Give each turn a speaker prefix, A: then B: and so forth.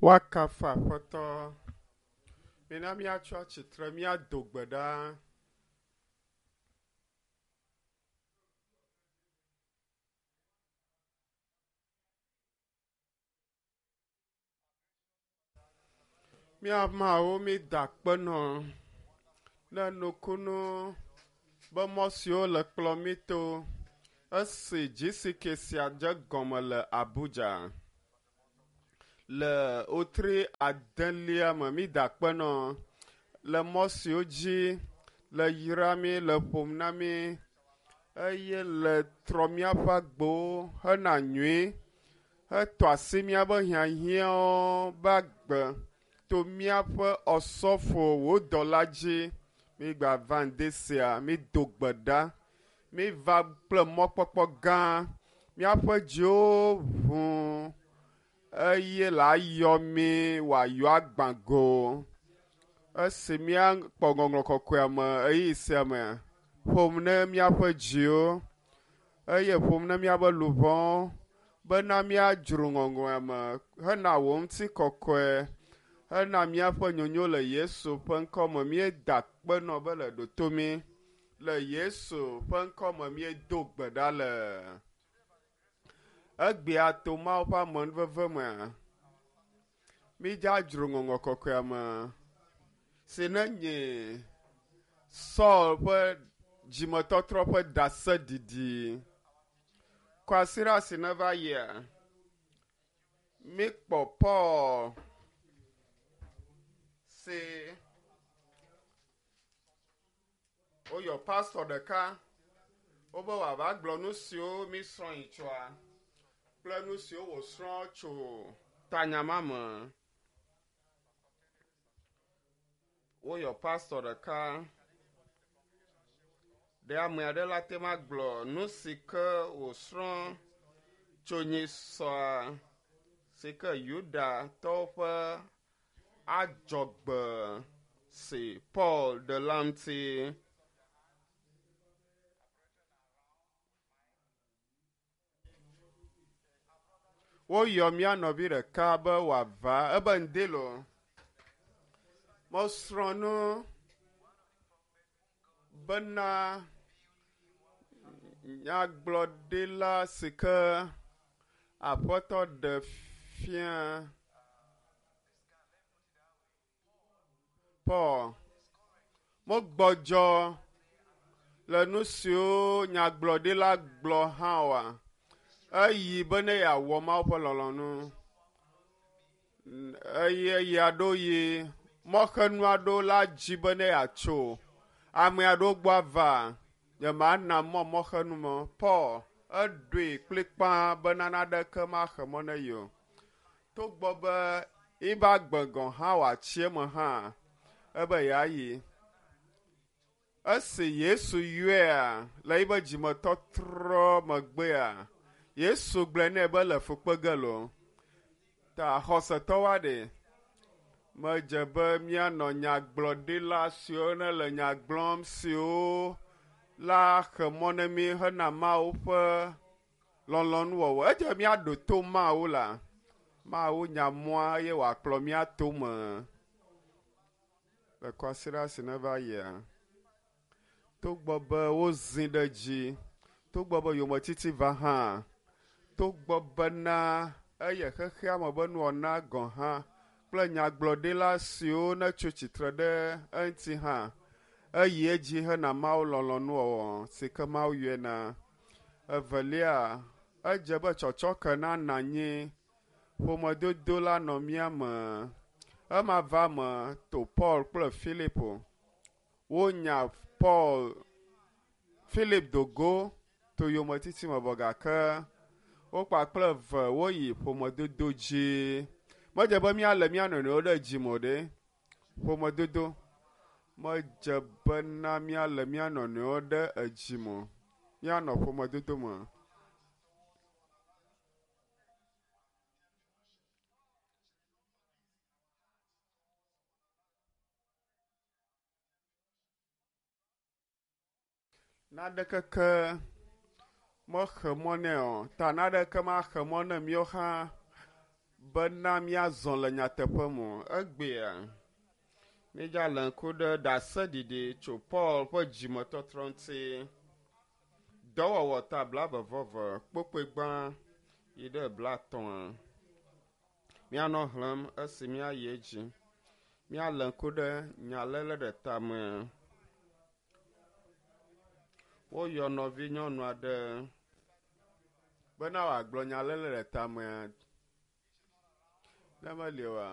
A: Woakafu Aƒetɔ. Mina míatso atsitre míado gbe ɖa. Mía Mawu, mída akpe nɔ ne nukunu be mɔ siwo le kplɔ mí to esi GCK sia dze gɔme le Abuja le wotri adelia me. Mída akpe nɔ le mɔ siwo dzi le yra mí, le ƒom na mí eye le trɔ míaƒe agbowo hena nyui hetɔ asi míaƒe hiahiãwo be agbe to míaƒe ɔsɔfo wò dɔla dzi. Mígava ŋdi sia, mído gbe ɖa. Míva kple mɔkpɔkpɔ gã. Míaƒe dziwo ʋu eye le ayɔ mí wòayɔ agbã go. Esi míakpɔ ŋɔŋlɔ kɔkɔea me ɣeyiɣi sia me, ƒom ne míaƒe dziwo eye ƒom ne míaƒe luʋɔwo bena míadzro ŋɔŋlɔa me hena wò ŋutikɔkɔe hena míaƒe nyonyo le Yesu ƒe ŋkɔ me. Míeda akpe nɔ be le ɖo to mí. Le Yesu ƒe ŋkɔ me míedo gbe ɖa le. Egbea to Mawu ƒe amenuveve mea, mídzadzro ŋɔŋlɔ kɔkɔea me si ne nye Saul ƒe dzimetɔtrɔ ƒe ɖaseɖiɖi. Kwasiɖa si neva yia, míkpɔ Paul si woyɔ pastɔ ɖeka wobe wòava gblɔ nu siwo mísrɔ̃ yi tsoa kple nu siwo wòsrɔ̃ tso tanya ma me. Woyɔ pastɔ ɖeka. Ɖe ame aɖe la te ma gblɔ nu si ke wòsrɔ̃ tso nyisɔa si ke Yudatɔwo ƒe adzɔgbe si Paul ɖe la ŋuti. Woyɔ mía nɔvi ɖeka be wòava ebe ŋdi lo. Mesrɔ̃ nu bena nyagblɔɖila si ke Aƒetɔ ɖe fia Paul megbɔdzɔ le nu siwo nyagblɔɖila gblɔ hã oa, eyi be ne yeawɔ Mawu ƒe lɔlɔ̃nu. Eye eya ɖo yi mɔxenu aɖewo la dzi be ne yeatso ame aɖewo gbɔ ava. Nyemana mɔ mɔxenu mɔ. Paul eɖoe kplikpaa be naneke maxe mɔ ne ye o. Togbɔ be yiƒe agbe gɔ̃ hã wòatsi eme hã, ebe yeayi. Esi Yesu yɔea le yiƒe dzimetɔtrɔ megbea, Yesu gblɔe nɛ be le fu kpe ge loo. Ta xɔsetɔwoa ɖe, medze be míanɔ nyagblɔɖila siwo ne le nya gblɔm siwo la xe mɔ ne mí hena Mawu ƒe lɔlɔ̃nuwɔwɔ. Edze be míaɖo to Mawu la. Mawu nya mɔa eye wòakplɔ mía tome. Le kwasiɖa si neva yia, togbɔ be wozĩ ɖe edzi, togbɔ be yometiti va hã, togbɔ bena eye xexea me be nuwɔna gɔ̃ hã kple nyagblɔɖila siwo netso tsitre ɖe eŋuti hã, eyi edzi hena Mawu lɔlɔ̃nuwɔwɔ si ke Mawu yɔe na. Evelia, edze be tsɔtsɔke nana anyi ƒomedodo la nɔ mía me. Ema va me to Paul kple Filipo. Wonya Paul Philip do go to yometiti me vɔ gake wo kpakple eve woyi ƒomedodo dzi. Medze be míalé mía nɔnɔewo ɖe dzime o ɖe. Ƒomedodo. Medze bena míalé mía nɔnɔewo ɖe edzime o. Míanɔ ƒomedodo me. Naneke ke mexe mɔ nɛ o. Ta naneke maxe mɔ ne míawo hã Bena míazɔ le nyateƒe me o. Egbea, míedza le ŋku ɖe ɖaseɖiɖi tso Paul ƒe dzimetɔtrɔ ŋuti. Dɔwɔwɔ ta blaeve-vɔ-eve kpokpoe gbã yi ɖe blaetɔ̃a. Míanɔ xlẽm esi míayi edzi. Míalé ŋku ɖe nyaléle ɖe tame. Woyɔ nɔvinyɔnu aɖe bena wòagblɔ nyaléle ɖe tamea. Ne meli oa,